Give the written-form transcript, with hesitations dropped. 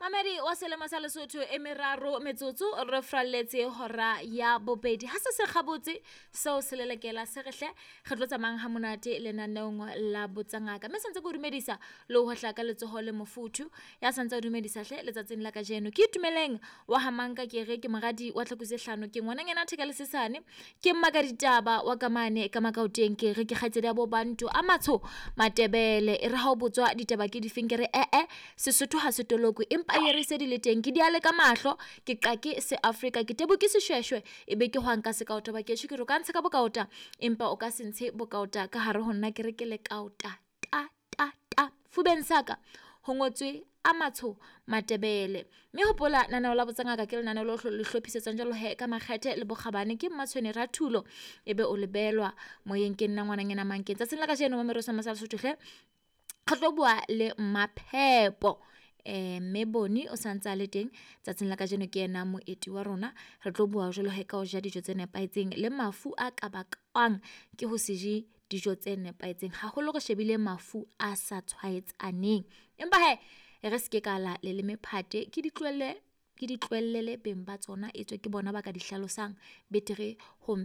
Mamedi wa selemo sa Lesotho e meraro metsotso re fralletse hora ya bobedi. Ha se se kgabotse seo se lelekela se re hle re tlo tsamayang ha monate lenaneong la Botsangaka. Mme sentse ke o dumedisa le ho hohla ka letsoho le mofuthu. Ya santse a dumedisa hle letsatsing la kajeno. Ke Itumeleng wa Hamanka, ke re ke moradi wa tlhako tse hlano, ke ngwananyana theka le sesane, ke mmaka ditaba wa ka mane ka Makaoteng, ke re ke kgaitsedi ya bo Bantu a matsho Matebele. E re ha o botswa ditaba ke difeng, ke re ee Sesotho ha se tolokwe empa e re se di le teng, ke diale ka mahlo, ke qake se Afrika, ke tebo ke seshweshwe, e be ke hwang ka sekaota ba kesho, ke re o ka ntsha ka bokaota empa o ka se ntshe bokaota ka hare ho nna, ke re ke le kaota ta ta ta fubeng saka ho ngotswe a matsho Matebele. Mme hopola naneo la Botsangaka ke lenaneo le le hlophisetswang jwalo he ka makgethe le bokgabane ke Mmatshwene Rathulo, ebe o lebelwa moyeng ke nna ngwananyana Mankeng. Tsatsing la kajeno Mamedi wa Selemo sa Lesotho hle re tlo bua le Maphepo, mme Boni o santse a le teng tsatsing la kajeno, ke yena moeti wa rona. Re tlo bua jwalo he ka ho ja dijo tse nepahetseng le mafu a ka bakwang ke ho se je dijo tse nepahetseng, haholo re shebile mafu a sa tshwaetsaneng. Empa hee e re se ke ka la leleme phate, ke di tlohelle, ke di tlohellele beng ba tsona etswe ke bona ba ka di hlalosang betere ho .